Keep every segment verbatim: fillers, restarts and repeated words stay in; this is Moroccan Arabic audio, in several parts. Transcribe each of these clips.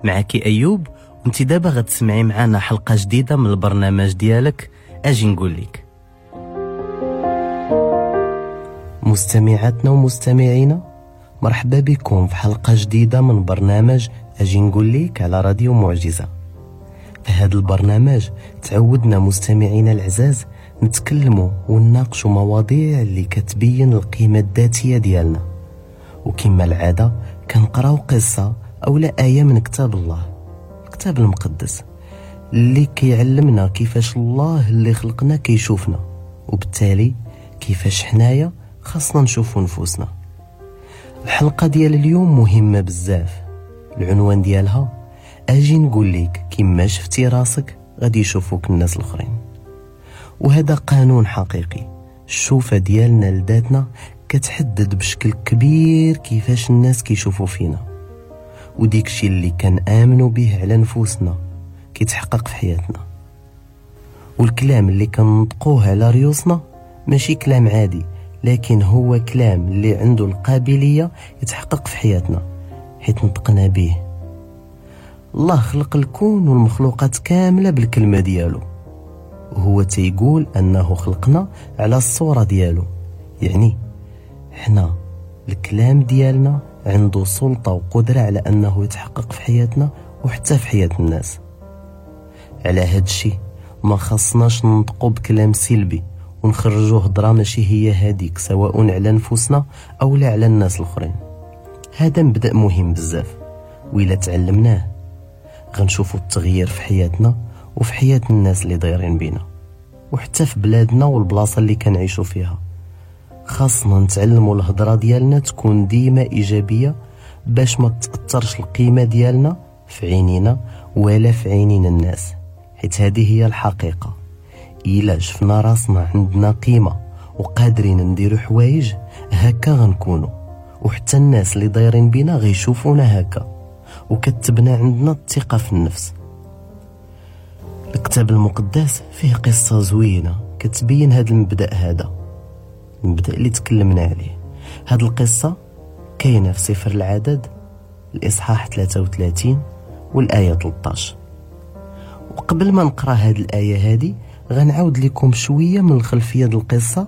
معك أيوب، وانت دابا غتسمعي معنا حلقة جديدة من البرنامج ديالك أجي نقول لك. مستمعاتنا ومستمعينا، مرحبا بكم في حلقة جديدة من برنامج أجي نقول لك على راديو معجزة. في هذا البرنامج تعودنا مستمعينا العزاز نتكلموا ونناقشوا مواضيع اللي كتبين القيمة الذاتية ديالنا، وكما العادة كنقراو قصة أو لا آية من كتاب الله، الكتاب المقدس اللي كيعلمنا كيفاش الله اللي خلقنا كيشوفنا، وبالتالي كيفاش حنايا خاصنا نشوفو نفوسنا. الحلقة ديال اليوم مهمة بزاف، العنوان ديالها أجي نقول لك كما شفتي راسك غادي يشوفوك الناس الآخرين. وهذا قانون حقيقي، الشوفة ديالنا لذاتنا كتحدد بشكل كبير كيفاش الناس كيشوفوا فينا، وديك الشيء اللي كنآمنوا به على نفوسنا كيتحقق في حياتنا. والكلام اللي كنطقوه على ريوسنا ماشي كلام عادي، لكن هو كلام اللي عنده القابلية يتحقق في حياتنا حيت نطقنا به. الله خلق الكون والمخلوقات كاملة بالكلمة ديالو، وهو تيقول أنه خلقنا على الصورة ديالو، يعني حنا الكلام ديالنا عنده سلطة وقدرة على أنه يتحقق في حياتنا وحتى في حياة الناس. على هاد الشي ما خصناش ننطقو بكلام سلبي ونخرجوه هضرة ماشي هي هاديك، سواء على نفوسنا أو لا على الناس الآخرين. هذا مبدأ مهم بزاف، وإلا تعلمناه غنشوفو التغيير في حياتنا وفي حياة الناس اللي دايرين بينا، وحتى في بلادنا والبلاصة اللي كنعيشو فيها. خاصنا نتعلموا الهضرة ديالنا تكون ديما إيجابية باش ما تأثرش القيمة ديالنا في عينينا ولا في عينين الناس، حيت هذه هي الحقيقة. إلا شفنا راسنا عندنا قيمة وقادرين نديرو حوايج هكا غنكونو، وحتى الناس اللي دايرين بينا غيشوفونا هكا، وكتبنا عندنا الثقة في النفس. الكتاب المقدس فيه قصة زوينة كتبين هذا المبدأ، هذا المبدأ اللي تكلمنا عليه. هذه القصة كاينة في سفر العدد الإصحاح ثلاثة وثلاثين والآية ثلاثة عشر. وقبل ما نقرأ هذه الآية هذه غنعاود لكم شوية من الخلفية ديال القصة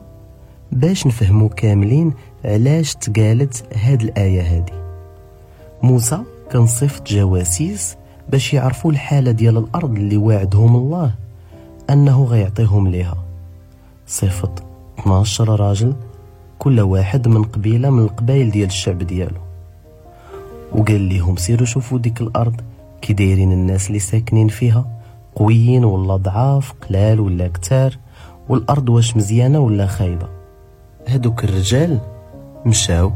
باش نفهموا كاملين علاش تقالت هذه الآية هذه. موسى كان صيفط جواسيس باش يعرفوا الحالة ديال الأرض اللي واعدهم الله أنه غيعطيهم ليها. صيفط اثنا عشر راجل، كل واحد من قبيلة من القبائل ديال الشعب ديالو، وقال لهم سيروا شوفوا ديك الأرض كي دايرين الناس اللي ساكنين فيها، قويين ولا ضعاف، قلال ولا كتار، والأرض واش مزيانة ولا خايبة. هادوك الرجال مشاو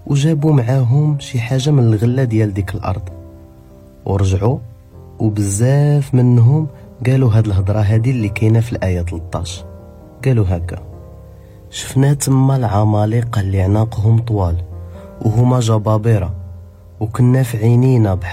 وجابوا معاهم شي حاجة من الغلة ديال ديك الأرض ورجعوا، وبزاف منهم قالوا هاد الهضرة هادي اللي كاينة في الآية ثلاثة عشر. قالوا هكا: شفنا تما العمالقة اللي عناقهم طوال وهما جبابرة، وكنا في عينينا بحال